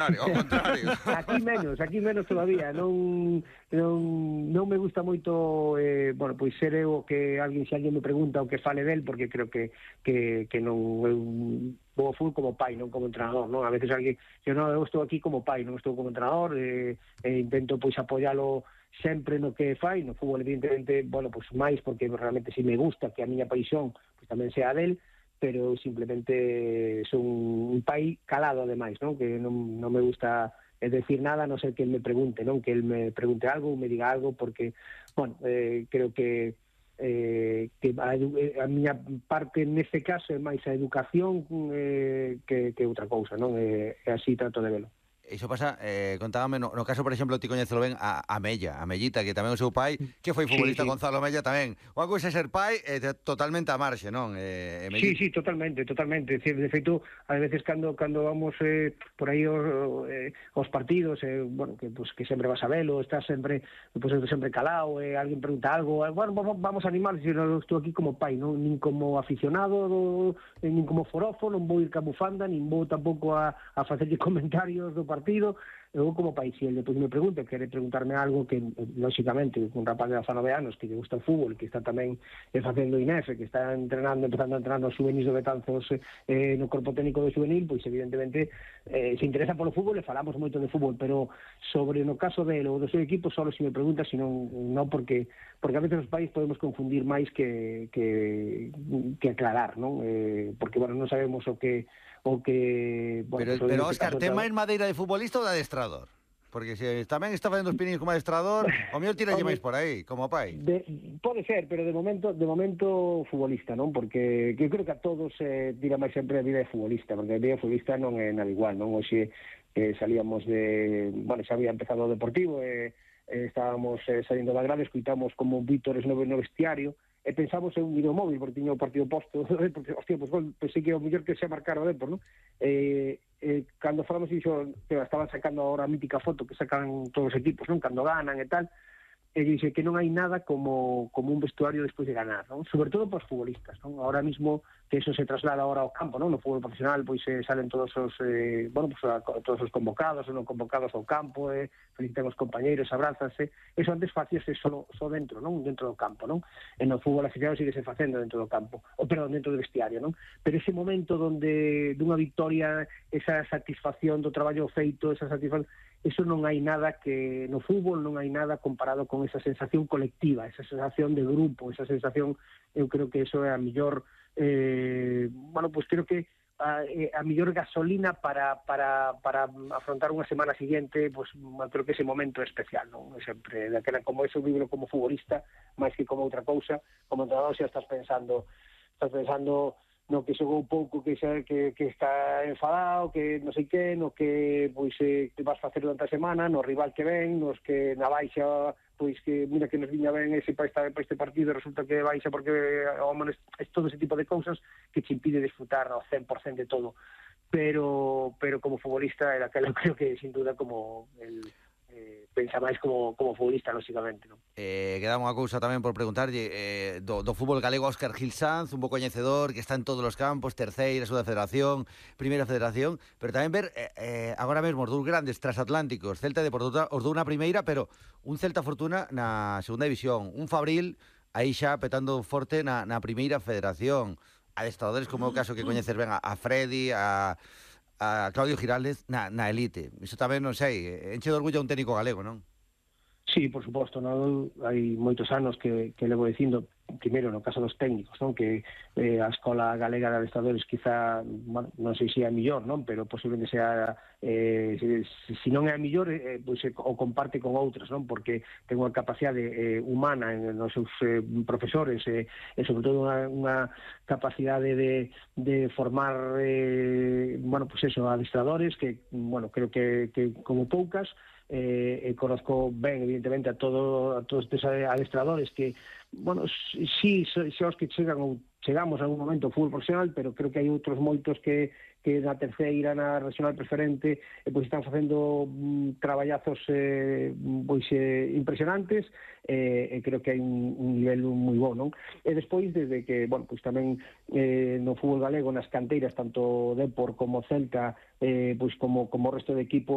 Ao contrario. Aquí menos todavía. Non me gusta moito, bueno, pois ser eu que se alguén me pregunta o que fale del, porque creo que non eu vou ao fútbol como pai, non como entrenador, non? A veces alguén, eu estou aquí como pai, non estou como entrenador, intento pois apoialo sempre no que fai, no fútbol evidentemente, bueno, pois máis porque realmente si me gusta que a miña paixón pois tamén sea del, pero simplemente son un pai calado ademais, non? Que non me gusta decir nada, a non ser que el me pregunte, non? Que el me pregunte algo, me diga algo, porque, bueno, creo que a miña parte neste caso é máis a educación que outra cousa, non? Así trato de velo. Iso pasa, contábame, no caso, por exemplo, ti coñecelo ben a Mellita, que tamén o seu pai, que foi futbolista, sí. Gonzalo Mella tamén. Unha cousa é ser pai totalmente a marxe, non? Sí, totalmente. Decir, de feito, a veces cando vamos por aí aos partidos, bueno, que sempre vas a velo, estás sempre calado, alguén pregunta algo, bueno, vamos a animar, eu estou aquí como pai, non? Nin como aficionado, nin como forofo, non vou ir ca bufanda, nin vou tampouco a facerlle comentarios do partido, eu como pai, se ele me pregunta, quere preguntarme algo que, lógicamente, un rapaz de 19 anos que lle gusta o fútbol, que está tamén facendo INEF, que está empezando a entrenar nos juvenis do Betanzos no corpo técnico do juvenil, pois evidentemente se interesa polo fútbol e falamos moito de fútbol, pero sobre no caso dele ou do seu equipo, só se me pregunta, senón non porque a veces os pais podemos confundir máis que aclarar, non? Porque, bueno, non sabemos o que bueno, pero Óscar, ten máis madeira de futbolista ou de adestrador? Porque se tamén está facendo os piniños como adestrador, o mellor tiralle máis por aí, como pai. Pode ser, pero de momento futbolista, non? Porque eu creo que a todos tira máis sempre a vida de futbolista, porque a vida de futbolista non é nada igual, non? Hoxe salíamos bueno, xa había empezado o Deportivo, estábamos salindo da grada, escuitamos como Vítores no vestiario, e pensamos en un videomóvil, porque tiña o partido posto, porque, hostia, pues pensei que o mellor que se marcar o Depor, non? Cando falamos iso, estaban sacando ahora a mítica foto que sacan todos os equipos, non? Cando ganan e tal, e dixe que non hai nada como un vestuario despois de ganar, non? Sobre todo para os futbolistas, non? Ahora mismo que eso se traslada ahora ao campo, non? No fútbol profesional pois salen todos os bueno, pues, todos os convocados ou non convocados ao campo, felicitan os compañeiros, abrázanse. Eso antes facíase só dentro, non? Dentro do campo, non? E no fútbol aficionado síguese facendo dentro do campo, perdón, dentro do vestiario, non? Pero ese momento donde dunha victoria, esa satisfacción do traballo feito, esa satisfacción, eso non hai nada que no fútbol non hai nada comparado con esa sensación colectiva, esa sensación de grupo, esa sensación, eu creo que eso é a mellor bueno, pues creo que a mellor gasolina para afrontar unha semana seguinte, pues creo que ese momento é especial, non? Sempre, daquela, como eso vivro como futbolista, máis que como outra cousa, como entrenador xa estás pensando no que xogou pouco, que está enfadado, que non sei que, no que pois que vas facer durante a semana, no rival que ven, nos que na baixa, pois que mira que nos viña ben ese para este partido, resulta que baixa porque é todo ese tipo de cousas que te impide disfrutar ao 100% de todo. Pero como futbolista era aquela, creo que sin duda como pensa máis como futbolista, lógicamente, non? Queda unha cousa tamén por preguntarlle do fútbol galego. Óscar Gil Sanz, un bo coñecedor, que está en todos os campos, terceira, segunda federación, primeira federación, pero tamén ver agora mesmo os dous grandes transatlánticos, Celta e Deportivo, os dous na primeira, pero un Celta Fortuna na segunda división, un Fabril aí xa petando forte na primeira federación, adestradores como é o caso que coñeces ben a Freddy, a Claudio Giraldez na elite. Iso tamén, non sei, enche de orgullo a un técnico galego, non? Sí, por suposto, non? Hai moitos anos que levo dicindo, primeiro no caso dos técnicos, non? Que a Escola Galega de Adestradores quizá, bueno, non sei se é a millor, non? Pero posiblemente sea se non é a millor, pois o comparte con outras, non? Porque ten unha capacidade humana nos seus profesores e sobre todo unha capacidade de formar bueno, pues eso, adestradores que, bueno, creo que como poucas. Conozco ben, evidentemente, a todos estes adestradores que, bueno, sí, os que chegamos a algún momento ao fútbol profesional, pero creo que hai outros moitos que na terceira, na regional preferente, pois están facendo traballazos pois impresionantes, e creo que hai un nivel moi bo, non? E despois, desde que, bueno, pois tamén no fútbol galego, nas canteiras, tanto Depor como Celta, pois como o resto de equipos,